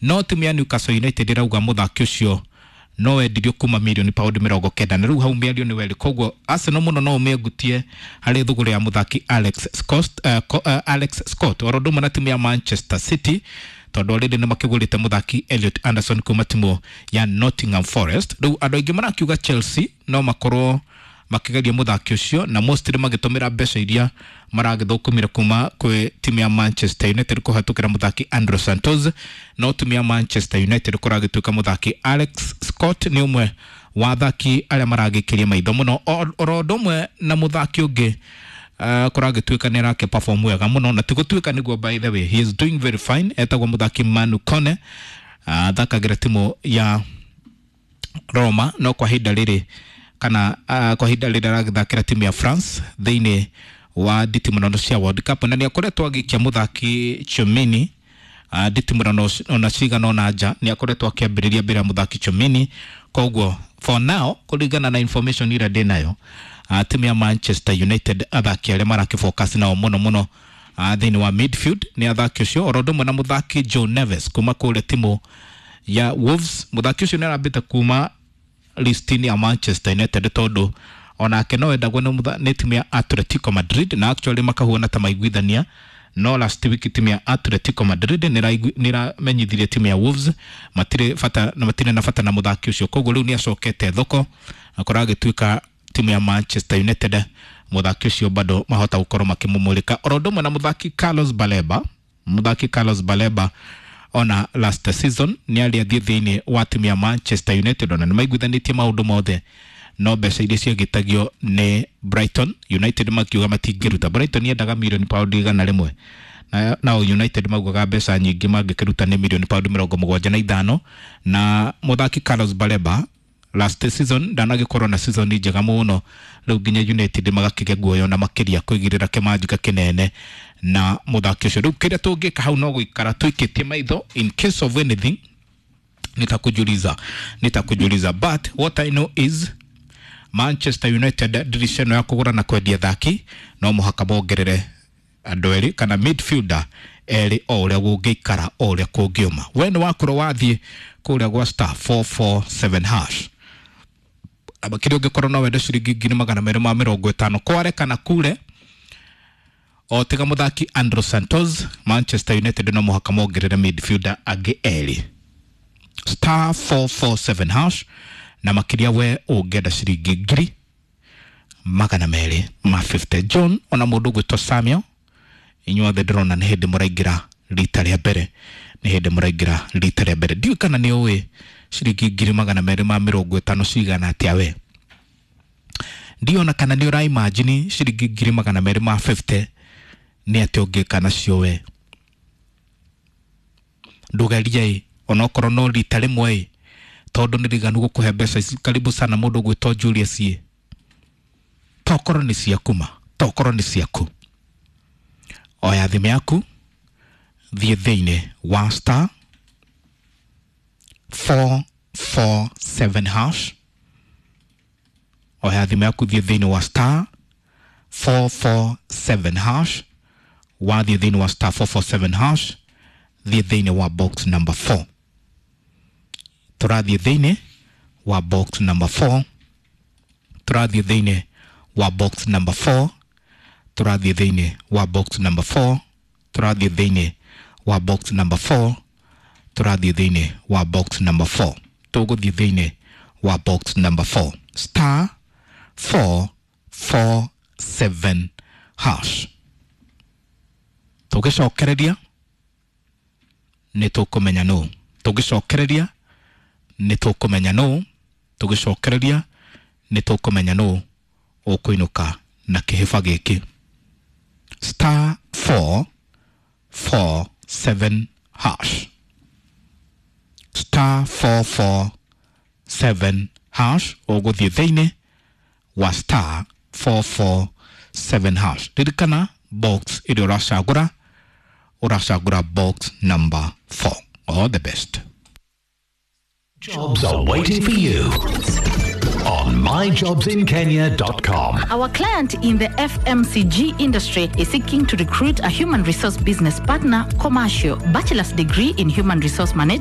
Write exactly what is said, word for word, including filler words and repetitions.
No timu ya Newcastle United ĩrauga mũthaki ũcio no wendirio kuma mirioni paundi mĩrongo kenda, na rĩu hau mĩario nĩ werĩ. Koguo Arsenal mũno no ũmĩengutie harĩ thũgũrĩ ya mũthaki Alex Scott, uh, uh, Alex Scott, oro ũndũ ũmwe na timu ya Manchester City, tondũ already nĩ makĩgũrĩte mũthaki Elliot Anderson kuma timu ya Nottingham Forest. Rĩu andũ aingĩ marakiuga Chelsea no makorwo makĩgeria mũthaki ũcio, na mostly magĩtũmĩra mbeca iria maragĩthũkũmire kuma kwĩ timu ya Manchester United kũhetũkĩra mũthaki Andrew Santos. No timu ya Manchester United kũragĩtuĩka mũthaki Alex Scott nĩ ũmwe wa athaki arĩa maragĩkĩria maitho mũno, oro ũndũ ũmwe na mũthaki ũngĩ uh, kũragĩtuĩka nĩ arake perform wega mũno, na ti gũtuĩka nĩguo, by the way, he is doing very fine, etagwo mũthaki Manu Kone, athakagĩra uh, timu ya Roma, no kwa ihinda rĩrĩ kana uh, kwa ihinda rĩrĩ aragĩthakĩra timu ya France thĩinĩ wa nditimũrano cia World Cup, na nĩ akoretwo agĩikia mũthaki Tchouameni uh, nditimũrano ona cigana ona nja, nĩ akoretwo akĩambĩrĩria mbere ya mũthaki Tchouameni. Koguo for now, kũringana na information ĩrĩa ndĩnayo, uh, timu ya Manchester United athaki arĩa marakĩfocus nao mũno mũno uh, thĩinĩ wa midfield nĩ athaki ũcio, oro ũndũ ũmwe na mũthaki Joe Neves kuma kũrĩa timu ya Wolves. Mũthaki ũcio nĩ arambĩte kuma listini ya Manchester United, tondũ onake no endagwo nĩ timu ya Atletico Madrid, na actually makahuana ta maiguithania. No last week timu ya Atletico Madrid nĩramenyithirie timu ya Wolves matirĩ bata na matirĩ na bata na mũthaki ũcio. Koguo rĩu nĩ acokete thoko, akorwo agĩtuĩka timu ya Manchester United mũthaki ũcio bado mahota gũkorwo makĩmũmũrĩka, oro ũndũ ũmwe na mũthaki Carlos Baleba. Mũthaki Carlos Baleba ona last season nĩ arĩ athiĩ thĩinĩ wa timu ya Manchester United, ona nĩ maiguithanĩtie maũndũ mothe, no mbeca iria ciagĩtagio nĩ Brighton, United makiuga matingĩruta. Brighton yendaga mirioni paundi igana rĩmwe, na nao United maugaga mbeca nyingĩ mangĩkĩruta nĩ mirioni paundi mĩrongo mũgwanja na ithano. Na mũthaki Carlos Baleba last season ndanagĩkorwo na season njega mũno, rĩu nginya United magakĩgĩa guoya na makĩria kũigĩrĩra kĩmanjĩka kĩnene na mũthaki ũcio. Rĩu kĩrĩa tũngĩka hau no gũikara tũikĩtie maitho, in case of anything nitakujuliza nitakujuliza But what I know is Manchester United dirisha ĩno ya kũgũra na kwendia athaki no mũhaka mongerere andũ erĩ kana midfielder erĩ, o ũrĩa gũngĩikara, o ũrĩa kũngĩũma. We nĩ wakorwo wathiĩ kũrĩa gwa star four four seven hash, na makĩria ũngĩkorwo no wende ciringi ngiri magana merĩ ma mĩrongo ĩtano kware kana kure, o tiga mũthaki Andrew Santos, Manchester United no mũhaka mongerere midfielder angĩ erĩ. Star four four seven hash, na makĩria we ũngĩenda ciringi ngiri magana merĩ ma fifty. John, ona mũndũ ũgwĩtwo Samuel, inyuothe ndĩrona nĩ hĩndĩ mũraingĩra rita rĩa mbere, nĩ hĩndĩ mũraingĩra rita rĩa mbere. Ndiũĩ kana nĩ ũĩ ciringi ngiri magana merĩ ma mĩrongo ĩtano cigana atĩa. We ndiona kana nĩ ũraimagine ciringi ngiri magana merĩ ma fifty nĩ atĩa ũngĩka nacio. We ndũgerie ĩ, onokorwo no rita rĩmwe ĩ, tondũ nĩ riganu gũkũhe mbeca ici. Karibu sana mũndũ ũgwĩtwo Julius ĩ, tokorwo nĩ ciaku ma, tokorwo nĩ ciaku. Oya thimũ yaku, thiĩ thĩinĩ wa star four four seven hash. Oya thimũ yaku, thiĩ thĩinĩ wa star four four seven hash. Wathiĩ thĩinĩ wa star four four seven hash, thiĩ thĩinĩ wa box number four. Tũrathiĩ thĩinĩ wa box number four, tũrathiĩ thĩinĩ wa box number four, tũrathiĩ thĩinĩ wa box number four, tũrathiĩ thĩinĩ wa box number four, tũrathiĩ thĩinĩ wa box number four, tũgũthiĩ thĩinĩ wa box number four, star four four seven hash. Tũgĩcokereria nĩ tũkũmenya nũ, tũgĩcokereria nĩ tũkũmenya nũ, tũgĩcokereria nĩ tũkũmenya nũ ũkũinũka na kĩhĩba gĩkĩ. Star four four seven hash, star four four seven hash. Ũgũthiĩ thĩinĩ wa star four four seven hash. Ririkana box ĩrĩa ũracagũra, ũracagũra box number four. All the best. Jobs are waiting for you on my jobs in kenya dot com. Our client in the F M C G industry is seeking to recruit a human resource business partner, commercial, bachelor's degree in human resource management.